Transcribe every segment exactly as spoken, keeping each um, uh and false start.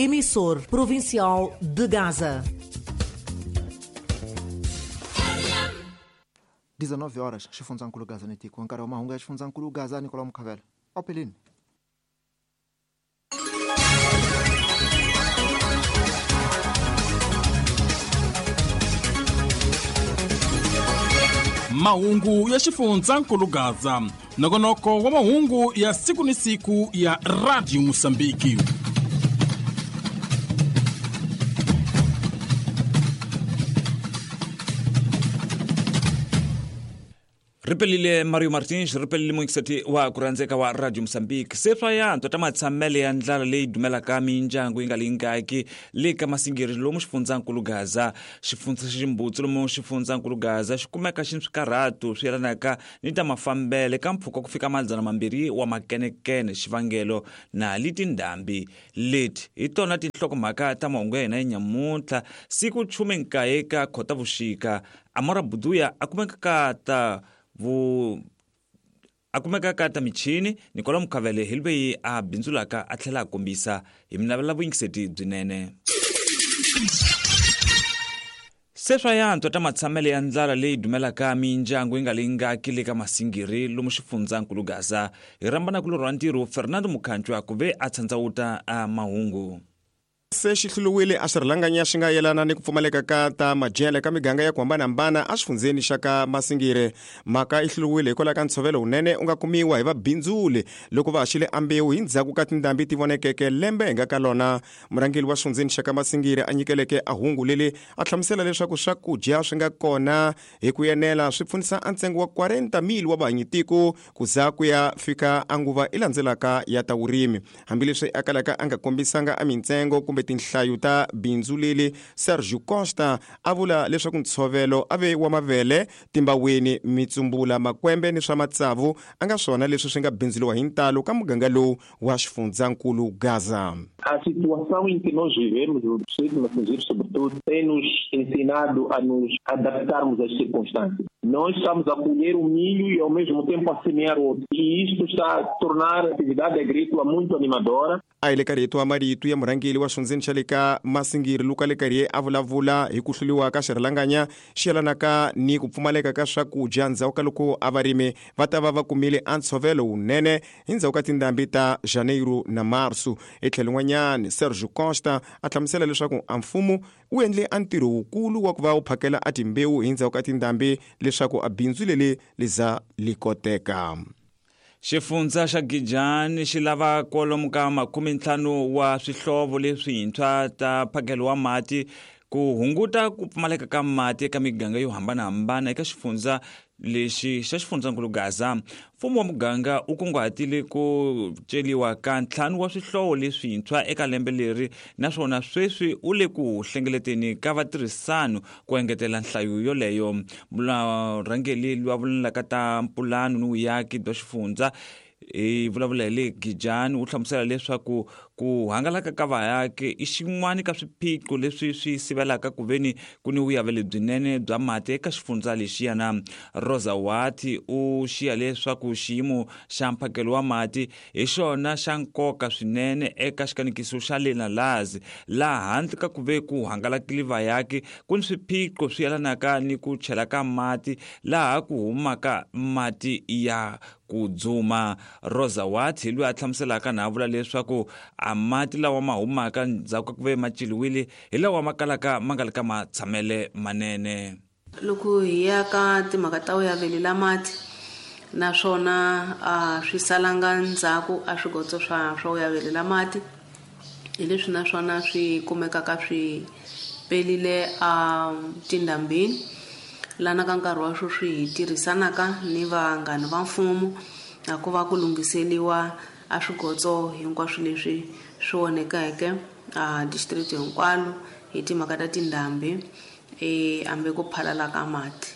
Emissor provincial de Gaza. dezenove horas, xifundzankulu Gaza ni tiko nkarhi wa mahungu ya xifundzankulu Gaza Nicolau Mukhavela opelini. Mahungu ya xifundzankulu Gaza, nongonoko wa mahungu ya siku ni siku ya Radio Mosambiki. Ripelile Mario Martins, ripelile muingiseti wa kurandzeka wa Radio Mozambique. Se swa yantswa ta matshamele ya ndlala leyi dumelaka mindyangu yi nga lingaki le ka Masingiri lomu xifundzankulu Gaza. Xifundza xa Ximbutsu lomu xifundzankulu Gaza xi kumeka xi ni swikarhato swi yelanaka ni ta mafambele ka mpfhuka ku fika madzana mambirhi wa makenekene. Xivangelo na li tindhambi leti hi tona tinhlokomhaka ta mahungu ya hina ya nyamuntlha siku khume nkaye ka Khotavuxika. Amora Buduya a kumeka ka ta vu a kumeka ka ta michini. Nicolau Mukhavele hi loyi a bindzulaka a tlhela a kombisa hi minavela vuyingiseti byinene. Se swa yantswa ta matshamele ya ndlala leyi dumelaka mindyangu yi nga lingaki le ka Masingiri lomu xifundzankulu Gaza. Hi rhambana ku lorha ntirho Fernando Mukhanchwa ku ve a tshandzawuta a mahungu. Se xi hluriwile a xirhalanganya xi nga yelana ni ku pfumaleka ka ta madyele ka miganga ya ku hambanahambana exifundzeni xa ka Masingiri. Mhaka yi hluriwile hikwalaho ka ntshovelo wunene u nga kumiwa hi vabindzuli loko va haxile ambewu hi ndzhaku ka tindhambi ti vonekeke lembe hi nga ka lona. Murhangeri wa xifundzeni xa ka Masingiri a nyikeleke a hungu leli a hlamusela leswaku swakudya swi nga kona hi ku enela swi pfunisa a ntsengo wa quarenta mil wa vahanyitiko ku za ku ya fika a nguva i landzelaka ya ta vurimi. Hambileswi a kalaka a nga kombisanga a mintsengo kumbe tinhlayo ta bindzu leli, Sergio Costa a vula leswaku ntshovelo a ve wa mavele, timbaweni, mitsumbula, makwembe ni swa matsavu a nga swona leswi swi nga bindzuliwa hi ntalo ka muganga lowu wa xifundzankulu Gaza. A situação em que nós vivemos, o distrito de Massingir, sobretudo, tem nos ensinado a nos adaptarmos às circunstâncias. Nós estamos a colher o milho e ao mesmo tempo a semear outro. E isto está a tornar a atividade agrícola muito animadora. A hi le ka rito wa marito ya murhangeri wa xifundzeni xa le ka Masingiri Luka le karhi a vulavula hi ku hluriwa ka xirhalanganya xi yelanaka ni ku pfumaleka ka swakudya ndzhaku ka loko a varimi va ta va va kumile a ntshovelo wunene hi ndzhaku ka tindhambi ta Janeiro na Marso. Etlhelo n'wanyana Sergio Costa a hlamusela leswaku a mfumo wu endle a ntirho wukulu wa ku va wu phakela a timbewu hi ndzhaku ka tindhambi leswaku a bindzu leli li za li koteka. Xifundza xa Gijani xi lava kwalomu ka makume ntlhanu wa swihlovo leswintshwa ta mphakelo wa mati ku hunguta ku pfumaleka ka mati eka miganga yo hambanahambana eka xifundza lexi xa xifundzankulu Gaza. Mfumo wa muganga wu kunguhatile ku celiwa ka ntlhanu wa swihlovo leswintshwa eka lembe leri, naswona sweswi u le ku hlengeleteni ka vatirhisano ku engetela nhlayo yoleyo. Murhangeri loyi a vulavulaka ta mpulano ni vuyaki bya xifundza hi vulavula hi le Gijani u hlamusela leswaku ku hangalaka ka vaaki i xin'wana ka swiphiqo leswi swi sivelaka ku veni ku ni vuyavelo byinene bya mati eka xifundza lexiyana. Rosa Wati u xiya leswaku xiyimo xa mphakelo wa mati hi xona xa nkoka swinene eka xikanekiso xa le Nalazi, laha handle ka ku ve ku hangalakile vaaki ku ni swiphiqo swi yelanaka ni ku chela ka mati laha ku humaka mati ya ku dzuma. Rosa Wati loyi a hlamuselaka na a vula leswaku a mati lawa ma humaka ndzhaku ka ku ve ma celiwile hi lawa ma kalaka ma nga le ka matshamele manene. Loko hi ya ka timhaka ta vuyavelela mati naswona a swi salanga ndzhaku a swigotso swa swa vuyavelela mati hi leswi naswona swi kumekaka swi pelile a tindhambini lana ka nkarhi wa sweswi hi tirhisanaka ni vanghana va mfumo na ku va ku lunghiseliwa a swigotso hinkwaswo leswi swi onhekeke a district hinkwalo hi timhaka ta tindhambi e ambe ku phalala ka mati.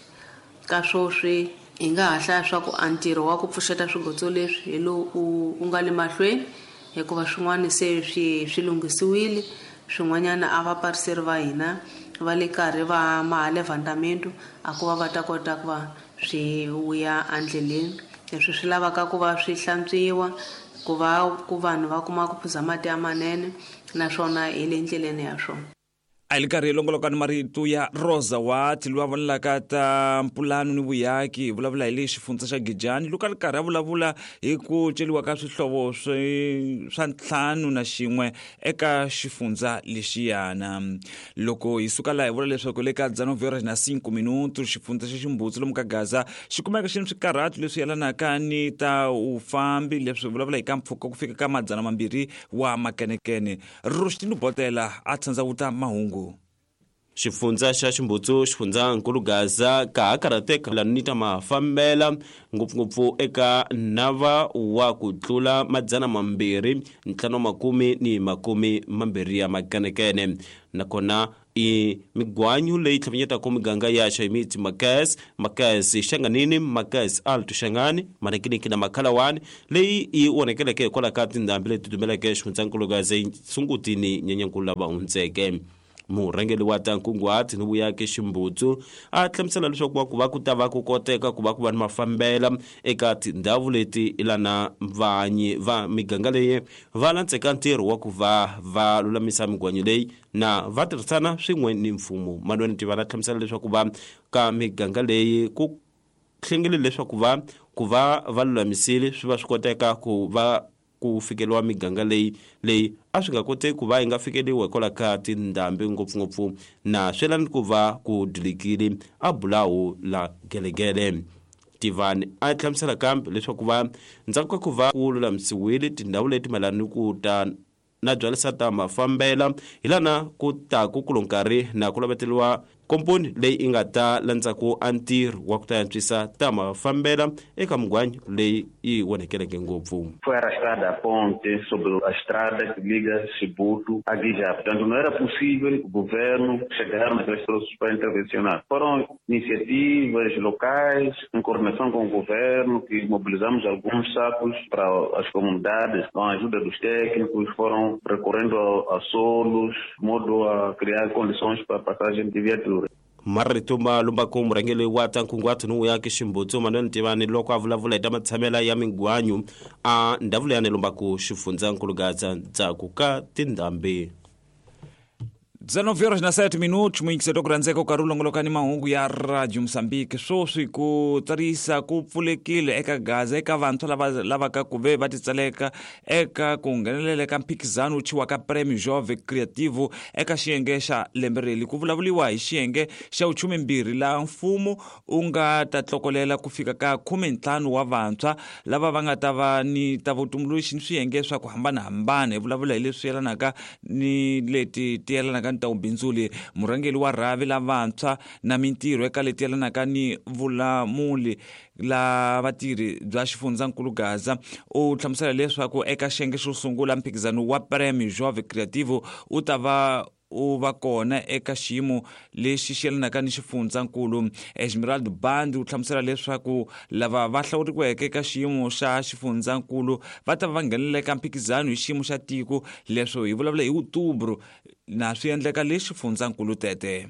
Ka swoswi hi nga ha hlaya swa ku a ntirho wa ku pfuxeta swigotso leswi hi lowu u nga le mahlweni hikuva swin'wana se swi swi lunghisiwile, swin'wanyana a vapariseri va hina va le karhi va maha levandamento a ku va va ta kota ku va swi vuya endleleni. Leswi swi lavaka ku va swi hlantswiwa ku va ku vanhu va kuma ku phuza mati ya manene naswona hi le ndleleni ya swona. A hi karhi hi longoloka ni marito ya Rosa Watt loyi a vonelaka ta mpulano ni vuyaki, hi vulavula hi le xifundza xa Gijani loko a ri karhi a vulavula hi ku celiwa ka swihlovo swi swa ntlhanu na xin'we eka xifundza lexiyana. Loko hi suka laha hi vula leswaku le ka dzana na cinco minuto xifundza xa Ximbutsu lomu ka Gaza xi kumeka xi ni swikarhatu leswi yelanaka ni ta vufambi, leswi vulavula hi ka mpfhuka ku fika ka madzana mambirhi wa makenekene. Rushtino Botela a tsandza mahungu. Xifundza xa Ximbutsu xifundzankulu Gaza ka ha karhateka lani ta mafambela ngopfungopfu eka nava wa ku tlula madzana mambirhi ntlhanu makumi ni makumi mambirhi ya makenekene, nakona i migwanyu leyi tlhavanyetaka miganga ya Xayimitsi Makes Makes Xanganini Makes Alto Xangani Manekiniki na Makhalawani leyi yi onekeleke hikwalaho ka tindhambi leti dumeleke xifundzankulu Gaza Sungutini Nyenyankulu lava hundzeke. Murhangeri wa ta nkunguhato ni vuyaki Ximbutsu a hlamusela leswaku ku va ku ta va ku koteka ku va ku va ni mafambela eka tindhawu leti lana vanyi va miganga leyi va landzeka ntirho wa ku va va lulamisa migwanyo leyi na va tirhisana swin'we ni mfumo. Manuel Tivana hlamusela leswaku va ka miganga leyi ku hlengele leswaku va ku va va lulamisile swi va swi koteka ku va ku fikeliwa miganga leyi leyi a swi nga koteki ku va yi nga fikeliwa hikwalaho ka tindhambi ngopfungopfu na swelani ku va ku dilikile a bulawu la gelegele. Tivani a hlamusela kambe leswaku va ndzhaku ka ku va ku lulamisiwile tindhawu leti mayelana ni ku ta na byalisa ta mafambela hi lana ku ta ku kulo nkarhi na ku laveteriwa komponi leyi yi nga ta landzaku a ntirho wa ku ta antswisa ta mafambela eka migwanyo leyi yi onekeleke ngopfu. Foi arrastada a ponte sobre a estrada que liga Chibuto a Guijá. Portanto, não era possível o governo chegar naqueles troços para intervencionar. Foram iniciativas locais, em coordenação com o governo, que mobilizamos alguns sacos para as comunidades, com a ajuda dos técnicos, foram recorrendo a, a solos, de modo a criar condições para a passagem de viaturas. Marito ma lumbaku murhangeri wa ta nkunguhato ni vuyaki Ximbutsu Manuel Tivani loko a vulavula hi ta matshamela ya migwanyu a ndhawu leyi lumbaku xifundzankulu Gaza ndzhaku ka tindhambi. dezenove horas na sete minutos, muyingiselo ku rhandzeka u karhi u longoloka ni mahungu ya Radio Mozambique. Sweswi ku tsarisa ku pfulekile eka Gaza eka vantshwa lava lavaka ku ve va titsaleka eka ku nghenelela eka mphikizano wu thyiwaka Prêmio Jovem Criativo eka xiyenge xa lembe reli. Ku vulavuriwa hi xiyenge xa vuchumimbirhi laha mfumo wu nga ta tlokolela ku fika ka khumentlhanu wa vantshwa lava va nga ta va ni ta vutumbuluxi ni swiyenge swa ku hambanahambana. Hi vulavula hi leswi yelanaka ni leti ti yelanaka ta ubindzuli. Murhangeri wa rhavi la vantshwa na mintirho eka leti yelanaka ni vulamuli la vatirhi bya xifundzankulu Gaza u hlamusela leswaku eka xiyenge xo sungula mphikizano wa Prêmio Jovem Criativo u ta va u va kona eka xiyimo lexi xi yelanaka ni xifundzankulu. Esmeralda Band u hlamusela leswaku lava va hlawuriweke eka xiyimo xa xifundzankulu va ta va nghenelela eka mphikizano hi xiyimo xa tiko. Leswo hi vulavula hi Outubro na swi endleka le xifundzankulu tete.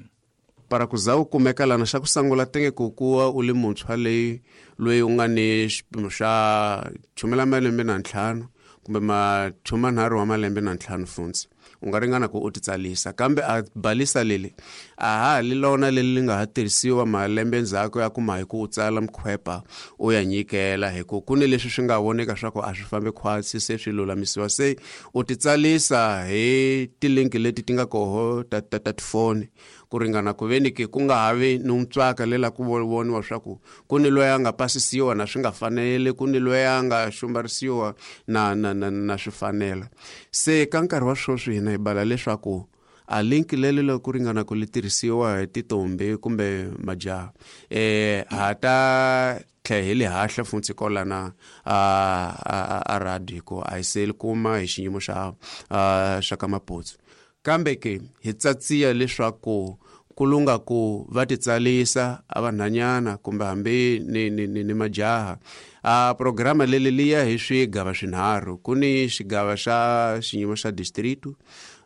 Para ku za u kumeka lana xa ku sungula tenge ku kuwa u li muntshwa leyi loyi u nga ni xipimo xa chumi la malembe na ntlhanu kumbe machumi nharhu wa malembe na ntlhanu funtsi u nga ringana ku u titsalisa, kambe a balisa leli a ha li lona leli li nga ha tirhisiwa malembe ndzhaku ya kuma hi ku u tsala mkhwepa u ya nyikela hi ku ku ni leswi swi nga voneka swa ku a swi fambi khwatsi se swi lulamisiwa. Se u titsalisa hi tilinki leti ti nga koho ta ta ta tifoni ku ringana ku veni ke ku nga havi ni ntswaka lela ku voniwa swa ku ku ni loyi a nga pasisiwa na swi nga fanele, ku ni loyi a nga xumbarisiwa na na na na swi fanela. Se ka nkarhi wa sweswi hina hi bala leswaku a link leli loko ku ringana ku li tirhisiwa hi titombi kumbe majaha eh ha ta tlhe hi le hahla funtsi kolana a a a radio ko a se li kuma hi xiyimo xa xa ka Maputsu. Kambe ke hi tsatsiya leswaku ku lunga ku va titsalisa a vanhanyana kumbe hambi ni ni ni, ni majaha. A programa leli liya hi swigava swinharhu, ku ni xigava xa xiyimo xa distrito,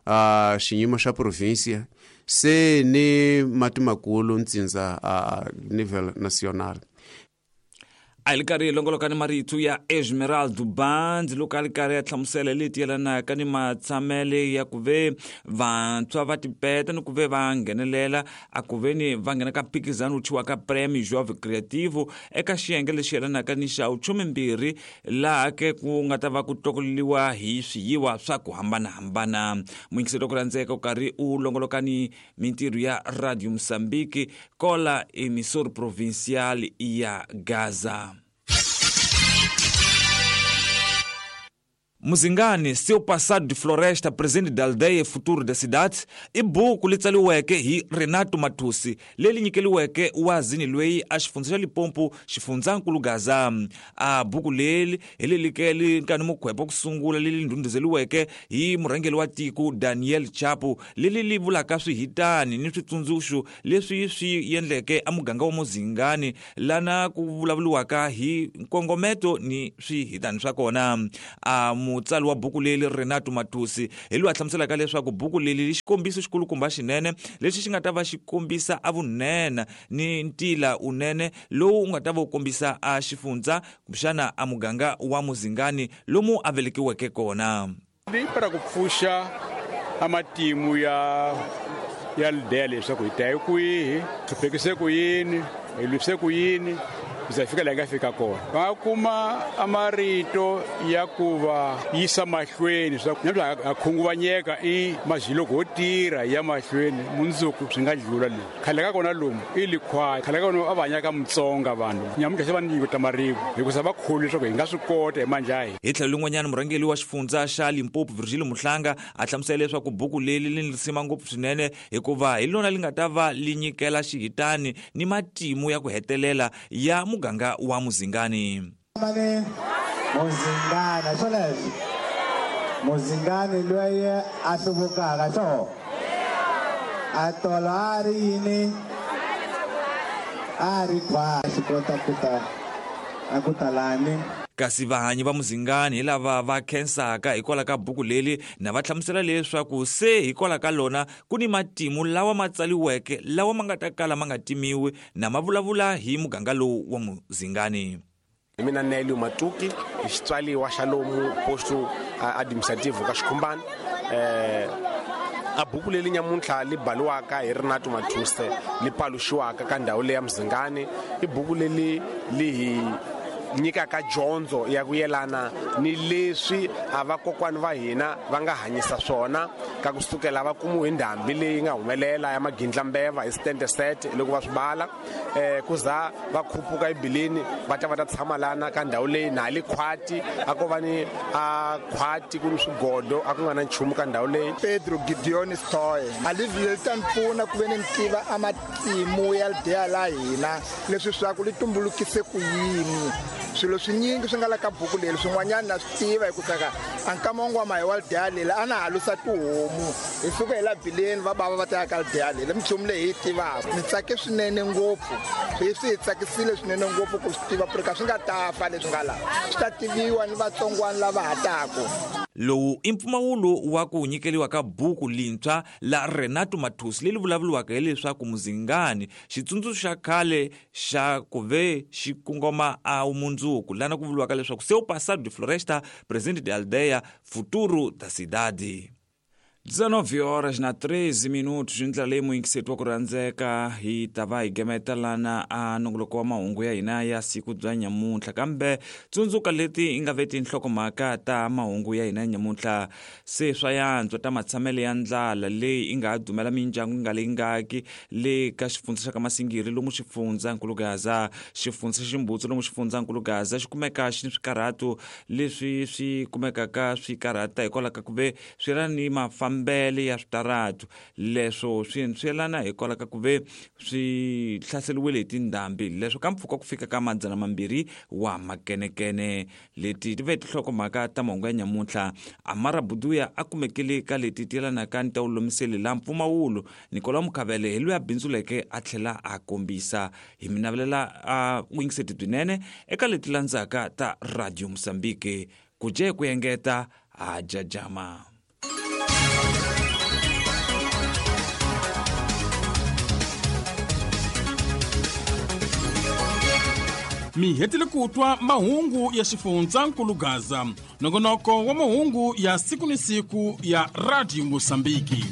a xiyimo xa provincia se ni mati makulu ntsindza a nivel national. A hi li karhi hi longoloka ni marito ya Esmeralda Band loko a li karhi ya hlamusela leti yelanaka ni matshamele ya ku ve vantshwa va tipeta ni ku ve va nghenelela a ku ve ni va nghena ka mphikizano wu thyiwaka Prêmio Jovem Criativo eka xiyenge lexi yelanaka ni xa vuchumimbirhi laha ke ku nga ta va ku tlokoleliwa hi swiyiwa swa ku hambanahambana. Muyingiseri wa ku rhandzeka u karhi u longoloka ni mintirho ya Radio Mozambique kola emissora provincial ya Gaza. Muzingani, seu passado de floresta, presente da aldeia e futuro da cidade, i buku li tsaliweke hi Renato Matusi, leri nyikeliweke wazini loyi a xifundza xa Limpopo, xifundzankulu Gaza. A buku leri hi leri ke li nkani mukhwepo ku sungula leri ndhundhuzeliweke hi murhangeri wa tiko Daniel Chapo, leri li vulaka swihitani ni switsundzuxo leswi swi endleke a muganga wa Muzingani, lana ku vulavuriwaka hi nkongometo ni swihitani swa kona. A mutsali wa buku leri Renato Matusi hi loyi a hlamuselaka leswaku buku leri li xikombiso xikulukumba xinene lexi xi nga ta va xi kombisa a vunene ni ntila unene lowu u nga ta va u kombisa a xifundza kumbexana a muganga wa Muzingani lomu a velekiweke kona. Ni para ku pfuxa a matimu ya ya aldeia leswaku hi ta hi kwihi, hluphekise ku yini, hi lwise ku yini, ku fika laha hi nga fika kona. Va nga kuma a marito ya ku va yisa mahlweni leswaku namuntlha ha khunguvanyeka i mazhiloko ho tirha ya mahlweni mundzuku swi nga dlula leyi. Khale ka kona lomu i likhwaya, khale ka kona a va hanya ka Mutsonga vanhu, nyamuntlha se va ni nyiko ta marivo hikusa va kholwi leswaku hi nga swi kota hi mandla ya hina. Hi tlhelo lin'wanyana murhangeri wa xifundza xa Limpopo Virgilio Muhlanga a hlamusela leswaku buku leri li ni risima ngopfu swinene hikuva hi lona li nga ta va li nyikela xihitani ni matimu ya ku hetelela ya muganga wa Muzingani. Mane Muzingani swoleswo Muzingani loyi a hluvukaka swo a tolo a ri yini a ri khwa xi kota ku ta a ku talani. Kasi vahanyi va Muzingani hi lava va khensaka hikwalaho ka buku leri na va hlamusela leswaku se hikwalaho ka lona ku ni matimu lawa ma tsaliweke lawa ma nga ta kala ma nga timiwi na ma vulavula hi muganga lowu wa Muzingani. Hi mina Nelio Matuki, hi xitswaliwa xa lomu posto administrativo ka Xikhumbani. Eh a buku leri nyamuntlha li baliwaka hi Renato Matuse li paluxiwaka ka ndhawu leya Muzingani i buku leri li hi nyikaka dyondzo ya ku yelana ni leswi a vakokwani va hina va nga hanyisa swona ka kusukela va kumiwe hi ndhambi leyi nga humelela ya magindlambeva hi stand set loko va swi bala eh kuza va khupuka ebileni va ta va ta tshama lana ka ndhawu leyi na le khwati a ko va ni a khwati ku ni swigodo a ku nga na nchumu ka ndhawu leyi. Pedro Gideon Stoy a livile ta ni pfuna ku ve ni tiva a matimu ya aldeya la hina leswi swa ku li tumbulukise ku yini. Swilo swinyingi swi nga la ka buku leri swin'wanyana na swi tiva hi ku saka a nkama wun'wana hi wa aldeya leri a na halusa tihomu hi suka hi la bileni va bava va ta ya ka aldeya leri minchumu leyi hi yi tivaka. Ni tsake swinene ngopfu swi swi hi tsakisile swinene ngopfu ku swi tiva ku ri ka swi nga ta fa leswi nga laha swi ta tiviwa ni vatsongwana lava ha taku. Lowu i mpfumawulo wa ku nyikeliwa ka buku lintshwa la Renato Matusi leri vulavuriwaka hileswaku Muzingani xitsundzuxo xa khale xa ku ve xi kongoma a mundzuku lana ku vuriwaka leswaku seu passado de floresta, presente de aldeia, futuro da cidade. dezenove horas na treze minutos hi ndlela leyi muyingiseti wa ku rhandzeka hi ta va hi gemeta lana a nongoloko wa mahungu ya hina ya siku bya nyamuntlha kambe tsundzuka leti i nga ve tinhlokomhaka ta mahungu ya hina ya nyamuntlha. Se swa yantswa ta matshamelo ya ndlala leyi i nga ha dumela mindyangu yi nga leyi ngaki le ka xifundza xa ka Masingiri lomu xifundzankulu Gaza, xifundza xa Ximbutsu lomu xifundzankulu Gaza xi kumeka xi ni swikarhato leswi swi kumekaka swi karhata hikwalaho ka ku ve swi ra ni mafa mbele ya switaratu leswo swi swi yelana hikwalaho ka ku ve swi hlaseriwile hi tindhambi leswo ka mpfhuka ku fika ka madzana mambirhi wa makenekene. Leti ti ve tinhlokomhaka ta mahungu ya nyamuntlha. Amara Buduya a kumekile ka leti ti yelanaka ni ta wulumiseli la mpfumawulo. Nicolas Mukhavele hi loyi a bindzuleke a tlhela a kombisa. Hi mi navelela a vuyingiseti byinene eka leti landzaka ta Radio Mozambique. Ku dye ku engeta a jajama. Mi hetile ku twa mahungu ya xifundzankulu Gaza, nongonoko wa mahungu ya siku ni siku ya Radio Mosambiki.